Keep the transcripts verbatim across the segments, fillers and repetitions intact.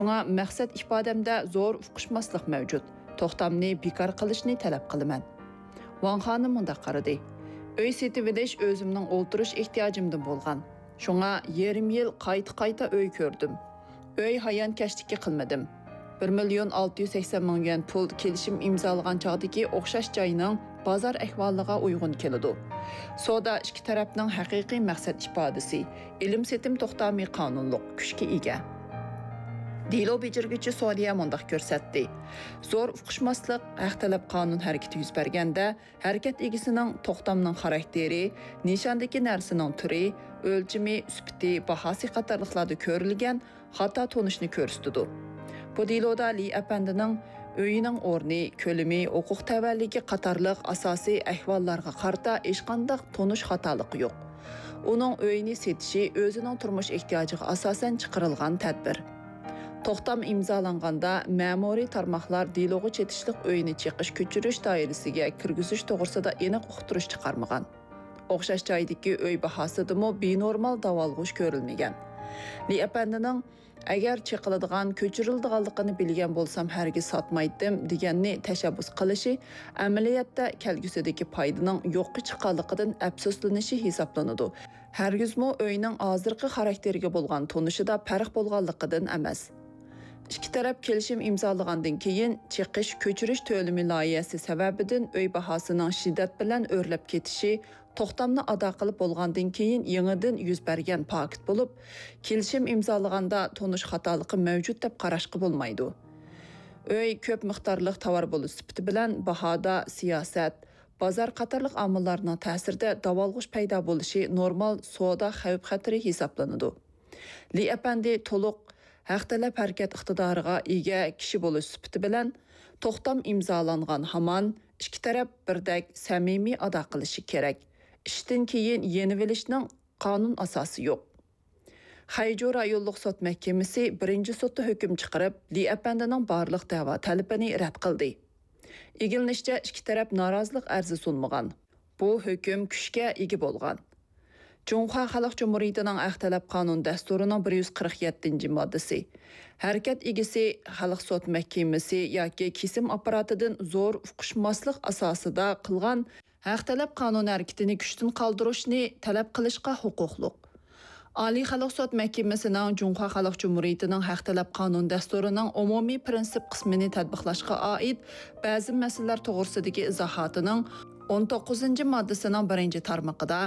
شۇڭا مەقسەت ئىپادەمدە زور ئۇقۇشماسلىق مەۋجۇت. توختامنى بىكار قىلىشنى تەلەپ قىلىمەن. ۋاڭ خانىم مۇنداق قارىدى: ئۆي سېتىۋېلىش ئۆزۈمنىڭ ئولتۇرۇش ئېھتىياجىمدىن بولغان. شۇڭا يېرىم يىل قايتا-قايتا ئۆي كۆردۈم. ئۆي ھايانكەشلىكى قىلمىدىم. بىر مىليون ئالتە يۈز سەكسەن مىڭ يۈەن پۇل كېلىشىم ئىمزالىغان چاغدىكى ئوخشاش جاينىڭ بازار ئەھۋالىغا ئۇيغۇن كېلىدۇ. سودا ئىككى تەرەپنىڭ ھەقىقىي مەقسەت ئىپادىسى، ئېلىم-سېتىم توختامى قانۇنلۇق كۈچكە ئىگە. دېلو بېجىرگۈچى سودىيە مۇنداق كۆرسەتتى: زور ئۇقۇشماسلىق، ھەق تەلەپ قانۇن ھەرىكىتى يۈز بەرگەندە، ھەرىكەت ئىگىسىنىڭ توختامنىڭ خاراكتېرى، نىشاندىكى نەرسىنىڭ تۈرى، ئۆلچىمى، سۈپىتى، باھاسى قاتارلىقلاردا كۆرۈلگەن خاتا تونۇشنى كۆرسىتىدۇ. بۇ دېلودا لى ئەپەندىنىڭ ئۆيىنىڭ ئورنى، كۆلىمى، ھوقۇق تەۋەلىكى قاتارلىق ئاساسىي ئەھۋاللارغا قارىتا ھېچقانداق تونۇش خاتالىقى يوق. ئۇنىڭ ئۆيىنى سېتىشى ئۆزىنىڭ تۇرمۇش ئېھتىياجىغا ئاساسەن چىقىرىلغان تەدبىر. توختام ئىمزالانغاندا، مەمۇرىي تارماقلار دېلوغا چېتىشلىق ئۆينى چېقىش كۆچۈرۈش دائىرىسىگە كىرگۈزۈش توغرىسىدا ئېنىق ئۇقتۇرۇش چىقارمىغان. ئوخشاش جايدىكى ئۆي باھاسىدىمۇ بىنورمال داۋالغۇش كۆرۈلمىگەن. لى ئەپەندىنىڭ «ئەگەر چېقىلىدىغان، كۆچۈرۈلىدىغانلىقىنى بىلگەن بولسام، ھەرگىز ساتمايتتىم» دېگەننى تەشەببۇس قىلىشى ئەمەلىيەتتە كەلگۈسىدىكى پايدىنىڭ يوققا چىققانلىقىدىن ئەپسۇسلىنىشى ھېسابلىنىدۇ. ھەرگىزمۇ ئۆينىڭ ھازىرقى خاراكتېرىگە بولغان تونۇشىدا پەرق بولغانلىقىدىن ئەمەس. ئىككى تەرەپ كېلىشىم ئىمزالىغاندىن كېيىن، چېقىش، كۆچۈرۈش تۆلىمى لايىھەسى سەۋەبىدىن ئۆي باھاسىنىڭ شىددەت بىلەن ئۆرلەپ كېتىشى، توختامنى ئادا قىلىپ بولغاندىن كېيىن يېڭىدىن يۈز بەرگەن پاكىت بولۇپ، كېلىشىم ئىمزالىغاندا تونۇش خاتالىقى مەۋجۇت دەپ قاراشقا بولمايدۇ. ئۆي كۆپ مىقدارلىق تاۋار بولۇش سۈپىتى بىلەن باھادا سىياسەت، بازار قاتارلىق ئامىللارنىڭ تەسىرىدە داۋالغۇش پەيدا بولۇشى نورمال سودا خەۋپ-خەتىرى ھېسابلىنىدۇ. لى ئەپەندى تولۇق ھەق تەلەپ ھەرىكەت ئىقتىدارىغا ئىگە كىشى بولۇش سۈپىتى بىلەن، توختام ئىمزالانغان ھامان ئىككى تەرەپ بىردەك سەمىمىي ئادا قىلىشى كېرەك. ئىشتىن كېيىن يېنىۋېلىشنىڭ قانۇن ئاساسى يوق. خەيجۇ رايونلۇق سوت مەھكىمىسى بىرىنچى سوتتا ھۆكۈم چىقىرىپ، لى ئەپەندىنىڭ بارلىق دەۋا تەلىپىنى رەت قىلدى. ئىگىلىنىشىچە، ئىككى تەرەپ نارازىلىق ئەرزى سۇنمىغان. بۇ ھۆكۈم كۈچكە ئىگە بولغان. جۇڭخۇا خەلق جۇمھۇرىيىتىنىڭ ھەق تەلەپ قانۇن دەستۇرىنىڭ بىر يۈز قىرىق يەتتىنچى ماددىسى. ھەرىكەت ئىگىسى خەلق سوت مەھكىمىسى ياكى كېسىم ئاپپاراتىدىن زور ئۇقۇشماسلىق ئاساسىدا قىلغان ھەق تەلەپ قانۇن ھەرىكىتىنى كۈچتىن قالدۇرۇشنى تەلەپ قىلىشقا ھوقۇقلۇق. ئالىي خەلق سوت مەھكىمىسىنىڭ جۇڭخۇا خەلق جۇمھۇرىيىتىنىڭ ھەق تەلەپ قانۇن دەستۇرىنىڭ ئومۇمىي پىرىنسىپ قىسمىنى تەتبىقلاشقا ئائىت بەزى مەسىلىلەر توغرىسىدىكى ئىزاھاتىنىڭ ئون توققۇزىنچى ماددىسىنىڭ بىرىنچى تارمىقىدا،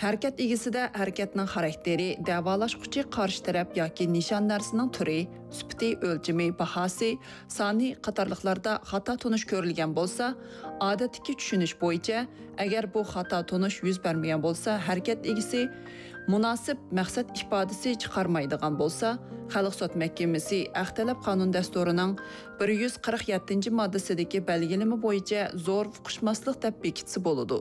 ھەرىكەت ئىگىسىدە ھەرىكەتنىڭ خاراكتېرى، دەۋالاشقۇچى قارشى تەرەپ ياكى نىشان نەرسىنىڭ تۈرى، سۈپىتى، ئۆلچىمى، باھاسى، سانى قاتارلىقلاردا خاتا تونۇش كۆرۈلگەن بولسا، ئادەتتىكى چۈشىنىش بويىچە، ئەگەر بۇ خاتا تونۇش يۈز بەرمىگەن بولسا، ھەرىكەت ئىگىسى مۇناسىپ مەقسەت ئىپادىسى چىقارمايدىغان بولسا، خەلق سوت مەھكىمىسى ھەق تەلەپ قانۇن دەستۇرىنىڭ بىر يۈز قىرىق يەتتىنچى ماددىسىدىكى بەلگىلىمە بويىچە زور ئۇقۇشماسلىق دەپ بېكىتسە بولىدۇ.